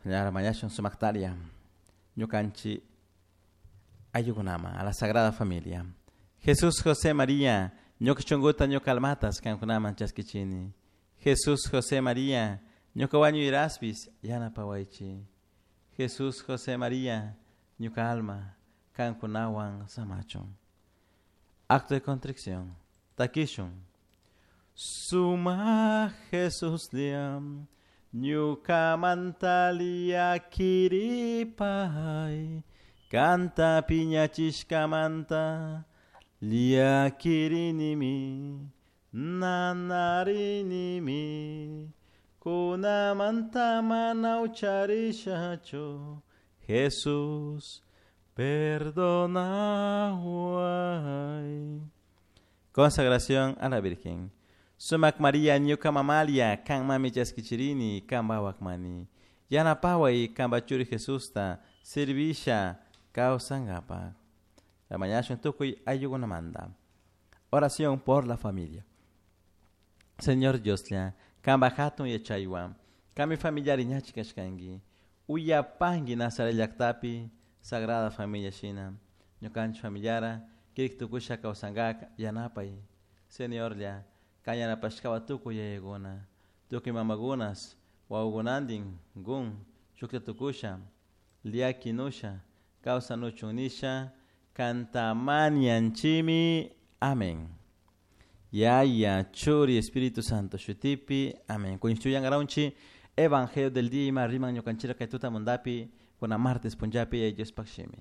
Ñara mañashun sumaktaria ñukanchik ayllukunaman a la Sagrada Familia. Jesús, José, María, ñuka shunkuta ñuka almatas kankunaman chaskichini. Jesús, José, María, ñuka wañuyraspis yanapawaychik. Jesús, José, María, ñuka alma kankunawan samachun. Acto de contrición. Takishun. Suma Jesús liam, ñukamanta llakiripay, kanta piñachishkamanta llakirinimi, nanarinimi, kunamanta mana ucharishachu, Jesús, perdonaway. Consagración a la Virgen. Sumak María ñuka mamalia kanmami chaskichirini kanpa wakmani. Yanapaway kanpa churi Jesusta servisha kawsankapak. Mañashun tukuy ayllukunamanta. Oración por la familia. Señor Dioslla, kanpa hatun yachaywan, kanmi familiari ñachi kashkanki. Uyapanki Nazaret llaktapi Sagrada Familia shina. Ñukanchik familiara kirik tukusha kawsankak yanapay. Señorlla, kan yanapashkawa tukuy yayakuna, tukuy mamakunas, wawakunantin gun shukta tukusha, llakinusha, kawsanuchun nisha, kantamanianchimi. Amén. Yaya, Churi, Espíritu Santo, shutipi. Amén. Kuñchuyan Evangelio del día ima riman ñukanchira kay tutamundapi, kuna martes punllapi, Diospaj shimi.